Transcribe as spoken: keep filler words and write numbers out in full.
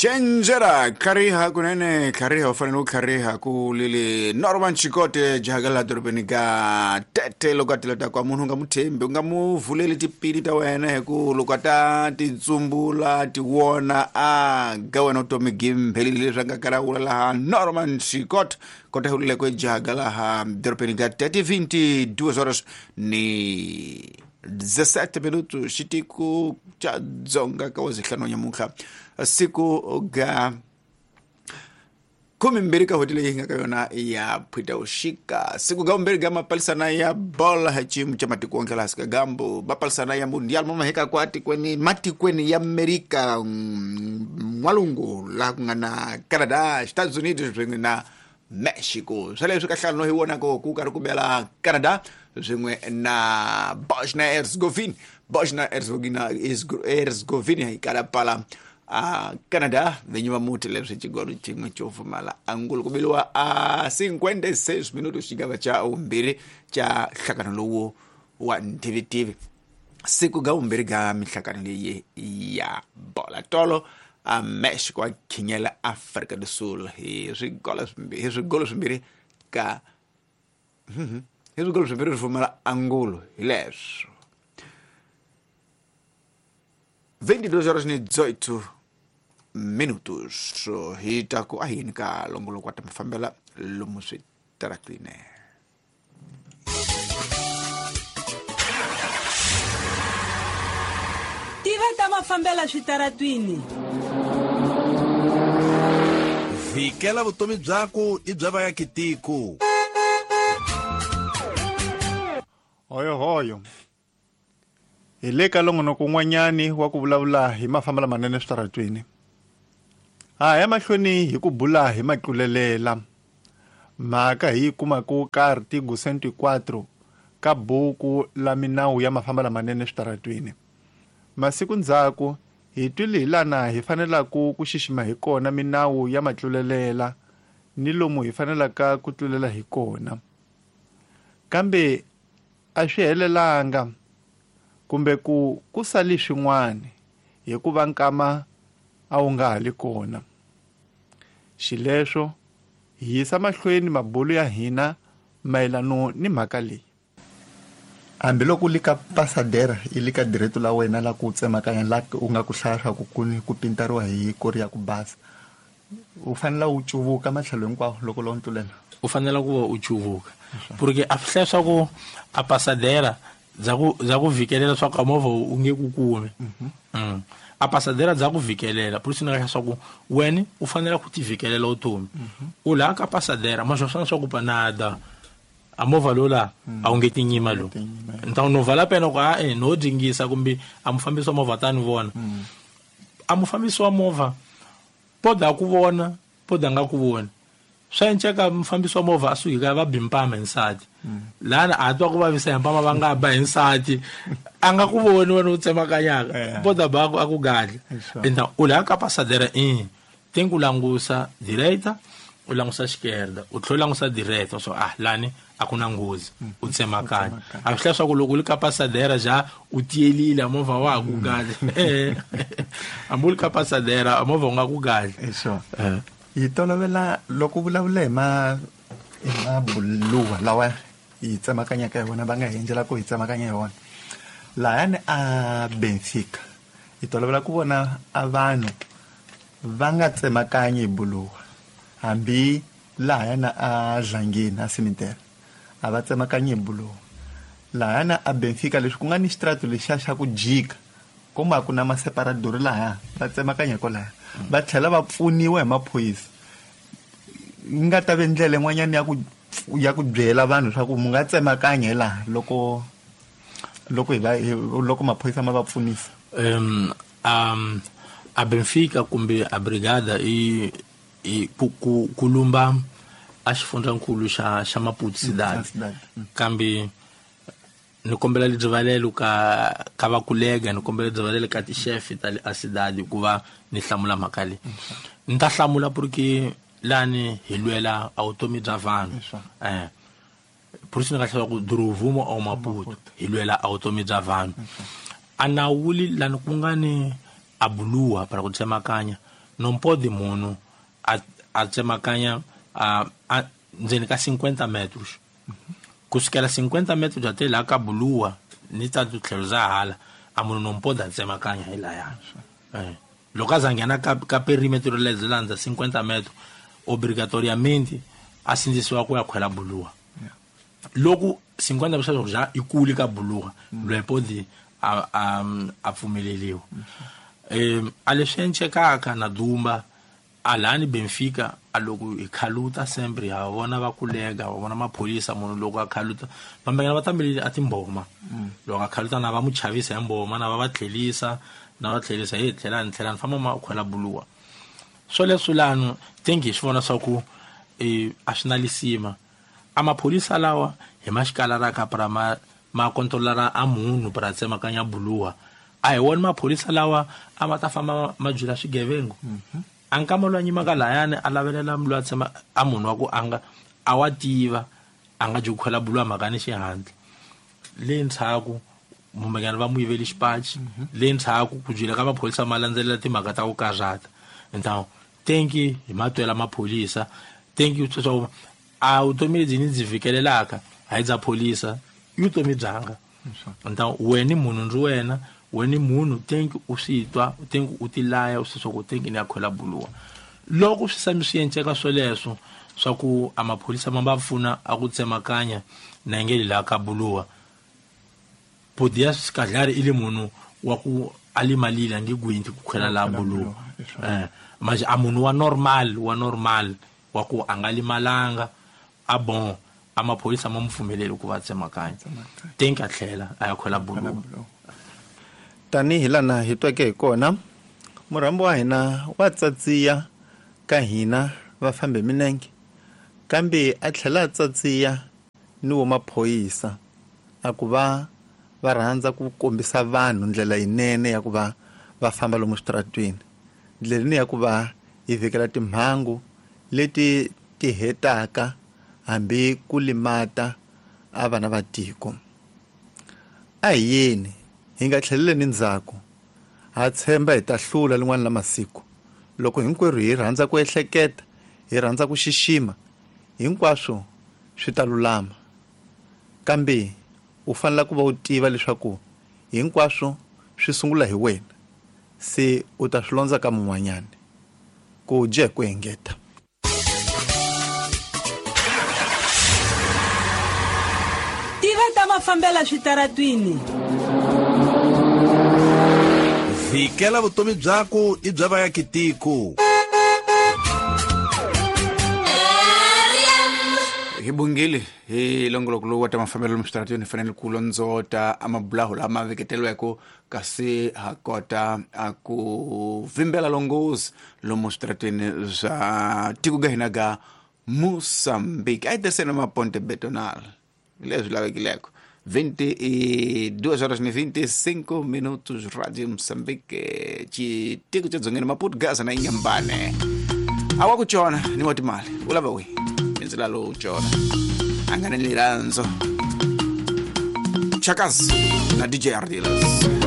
Chenjera tlhariha kunene tlhariha u fanele u tlhariha ku lili Norman Chikote jahagala dorobeni ka Tete loko a tileta kwa munhu u nga mu thembi u nga mu vuleli tipili ta wena hi ku loko a ta titsumbula ti wona a ga wena vutomi gimphelile leswi a nga kalawula laha Norman Chikote kota hulile ku jahagala ha dorobeni ka Tete vinte e duas horas ni dezessete minutos xitiko xa Dzonga ka wazihlanu nyamuntlha siku ga kumi mbirhi ka n'hweti leyi hi nga ka yona ya Phutavuxika, siku ga vumbirhi ga mapalisana ya bola hi xiyimo xa matiko wonke laha ka gambu mapalisana ya mundial ma maheka kwa tikweni matikweni ya Amerika N'walungu laha ku nga na Canada, Estados Unidos swin'we na Mexico. Swa leswi ka nhlano hi vonaka ku karhi ku bela Canada swin'we na Bosnia Herzegovina. Bosnia Herzegovina Herzegovina yi kala pala a Canada vinyi va muti leswi xigolo xin'we xo pfumala angulu ku biliwa a cinquenta e seis minutos xigava xa vumbirhi xa nhlangano lowu wa ntivitivi, siku ga vumbirhi ga minhlangano leyi ya bola. Tolo a Mexico a khinyela Africa do Sul hi swigolo swimbirhi hi swigolo swimbirhi ka hi swigolo swimbirhi swi pfumala angulo. Hi leswo vinte e duas horas ni dezoito minutos hi ta ku a yini ka longoloko wa ta mafambela lomu switaratini. Tiva ta mafambela switaratwini. Vikela vutomi byaku i bya vaakitiko. Hoyo hoyo, hi le ka longonoko un'wanyani wa ku vulavula hi mafambelo lamanene switaratwini. Ha ya mahlweni hi ku bula hi matlulelela mhaka hi yi kumaka ka artigo cento e quatro ka buku la minawu ya mafambelo lamanene switaratwini. Masiku ndzhaku hi twile hi lana hi fanelaka ku xixima hi kona minawu ya matlulelela ni lomu hi fanelaka ku tlulela hi kona, kambe a swi helelanga kumbe ku ku sali swin'wana hikuva nkama a wu nga ha li kona. Xileswo hi yisa mahlweni mabulo ya hina mayelano ni mhaka leyi. Hambiloko li ka pasadera i li ka direto la wena la ku tsemakanya la u nga ku hlaya swa ku ku ku pintariwa hi kori ya ku basa, u fanele u cuvuka matlhelo hinkwawo loko lowu tlulela. U fanele ku va u cuvuka porque a swi hlaya swa ku a pasadera bya ku bya ku vhikelela swa ku a movha u nge ku kumi. Mm. A pasadera bya ku vhikelela por isso ni nga swa ku wena u fanele ku ti vhikelela vutomi u laha ka pasadera ma swona swa ku panada a movha lowu la a wu nge tinyima lowu ni ta no vala pena ku a e no dingisa kumbe a mufambisi wa movha ta ni vona. A mufambisi wa movha poda ku vona, poda nga ku voni, swa enceka mufambisi wa movha a suki ka va bi mpama hi nsati lana a twa ku vavisa hi mpama va nga ba hi nsati a nga ku voni wena u tsemakanyaka. Yeah. Poda ba ku a ku gadla. Sure. Enta u laha ka pasadera i tem ku langusa direita, u langusa esquerda, u tlhela u langusa direita so ah lani a ku na nghozi u tsemakanya. A swi hlaya swa ku loko u li ka pasadera ja u tiyelile a movha wa ha ku gadla. Hambi u li ka pasadera a movha u nga ku gadla. Sure. Hi tolovela loko u vulavula hi ma hi mabuluwa lawa hi tsemakanyaka hi wona, va nga hi endlela ku hi tsemakanya hi wona lahayani a Benfica, hi tolovela ku vona a vanhu va nga tsemakanyi hi buluwa, hambi lahayana a Dlangeni a cemetery a va tsemakanyi hi buluwa. Lahayana a Benfica leswi ku nga ni xitratu lexiya xa ku jika kuma a ku na maseparadori lahaya, va tsemakanya kwalaya, va tlhela va pfuniwa hi maphorisa. Yi nga ta ve ndlela yin'wanyana ya ku ya ku byela vanhu swa ku mu nga tsemakanya hi laha loko loko hi va hi- loko maphorisa ma va pfunisa. um, um, a Benfica kumbe a brigada i, i ku, ku, ku lumba a xifundzankulu xa xa Maputo Cidade. Cidade. Kambe ni kombela rivalelo ka ka vakulega, ni kombela rivalelo ka tixefe ta le a cidade ku va ni hlamula mhaka leyi. Ni ta hlamula porque lani hi lwela a vutomi bya vanhu. eh por isso ni nga hlaya ku Drovumo ao Maputo hi lwela a vutomi bya vanhu. A nawuli lani ku nga ni a buluwa para ku tsemakanya Não pode munhu a a tsemakanya a, a ndzeni ka cinquenta metros. Kusukela cinquenta metros até lá ka buluwa ni ta tlhelo za hala a munhu não pode tsemakanya hi laya. Eh. Loko a nghena ka ka perimetro leyi landza cinquenta metros obrigatoriamente a sindzisiwa ku ya khwela buluwa. Loko cinquenta metros já ikuli ka buluwa loyi pode a a a pfumeleliwa. Eh a leswi encekaka na Dumba alani Benfica aloko hi khaluta sempre ha vona va kulega va vona maphorisa munhu loko a khaluta vambengana va tambelile a timboma loko a khaluta na va mu chavisa hi mboma na va va tlhelisa na va tlhelisa hi tlhelani tlhelani famba ma khwela buluwa swo leswi lano thank you swi vona swa ku eh a swi na lisima a maphorisa lawa hi maxikala ra ka pra ma ma kontrolara a munhu pra tsemakanya buluwa a hi wona maphorisa lawa a ma ta famba ma byela swigevengo a nkama loyi a nyimaka layani a lavelela loyi a tshama a munhu wa ku a nga a wa tiva a nga dyi ku khwela buluwa mhaka ni xihatla le ndzhaku mumbekani va mu yiveli xipaci le ndzhaku ku byela ka maphorisa ma landzelela timhaka ta ku karhata então thank you hi matwela maphorisa thank you leswaku a vutomi lebyi ni byi fikelelaka hayi bya pholisa i vutomi byanga então wena munhu ndzi wena wena munhu thank u swi twa thank u tilaya u swi swa ku thank ni ya khwela buluwa loko swi sami swi enceka swoleswo swa ku a maphorisa ma va pfuna a ku tsemakanya na ngeli la ka buluwa podia skadlari ile munhu wa ku alimalile ngi gwinti ku khwela la buluwa eh manje a munhu wa normal wa normal wa ku a nga limalanga a bon a maphorisa ma mupfumeleli ku va tsemakanya thank a tlhela a ya khwela buluwa. Tanihi lana hi tweke hi kona murhambi wa hina wa tsatsiya ka hina va fambe minenge kambe a tlhela a tsatsiya ni wo maphorisa a ku va va rhandza ku kombisa vanhu ndlela yinene ya ku va va famba lomu switaratweni ndlela ni ya ku va hi vhikela timhangu leti ti hetaka hambi ku limata a vana va tiko. A hi yeni hi nga tlheleleni ndzhaku ha tshemba hi ta hlula lin'wana la masiku loko hinkwerhu hi rhandza ku ehleketa hi rhandza ku xixima hinkwaswo swi ta lulama kambe u fanele ku va u tiva leswaku hinkwaswo swi sungula hi wena se u ta swi londza ka mun'wanyana ku dye ku engeta. Tiva ta mafambela switaratwini. Vikela vutomi byako i bya vayakitiko. Hi bungile hi longoloko lowu wa ta mafambelo lomu switaratweni hi fanele ku londzota amabulaho lama veketeriweke kasi ha kota a ku vimbela longozi lomu switaratweni swa tiko ga hina ga Mozambique. A hi tirhiseni maponte betonal leswi lavekileko. vinte e duas horas e vinte e cinco minutos, Rádio Moçambique, xitiko xa Dzongeni, Maputo, Gaza na Inhambane. Awa ku chona ni wa timali u lava wihi mindzila lowu chona a nga ni lirandzo Chakazi na D J Ardiles.